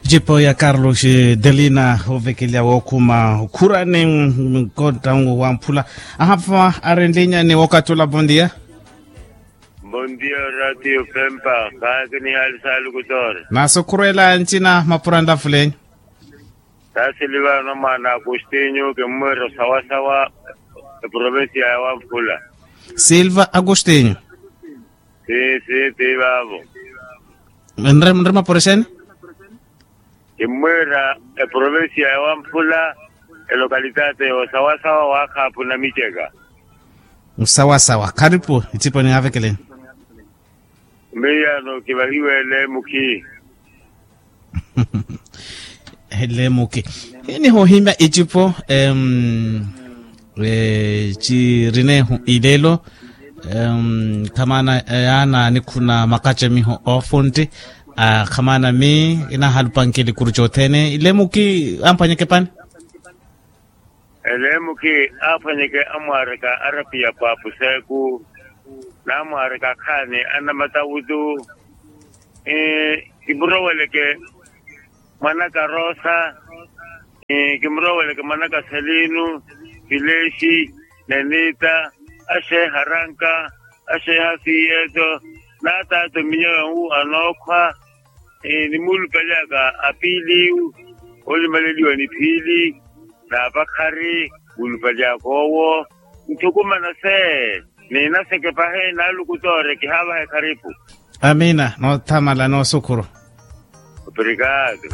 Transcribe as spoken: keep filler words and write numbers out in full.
Ecipo ya carlos delina ovekelya wookhuma okhurani nkonta wamphula. Ahapha arenlinyani wokatula bondia. Bondia ratio pempa kaakinihaali saalukutoore. Naasokhurwela ncina mapura nlafulenyu. Saasili vano mwaana agostinyu kimmwiira osawasawa eprovincia ya wamphula. Silva agostinyu. Sii sii tii vaavo. Nri mapura exeeni? Kimmwiira eprovincia ya wamphula elokalitati ya osawasawa waakhaapu na miceka. Osawasawa kharipu ecipo ni avekeleni. Miiyano kivahiwe lemuki. Lemuki. Inihohimya ecipo em, eh, cirinehu ilelo. Em, khamaana yaana nikhuna makacamiho oofuntti. Khamaana mi inahalupanke likuru cothene ilemuki. Amphwanyeke pani. Elemuki aaphwanyeke amwaareka arapiya paapuseku n'amwaareka akhaani anamatawutu. Kimuroweleke mwanaka rosa. Kimuroweleke mwanaka selinu, filexi, nenita, axeeha ranka, axeeha fiyeto, n'atato minyonwu anookhwa. Nimuulupalyaka apiili olimaleliwa ni phiili n'apakhari muulupalyaka owo. Nthukumana se niinaseke pahi naalukutoore kihaavahe kharipu. Amiina noothamala noosukhuru. Obrigado.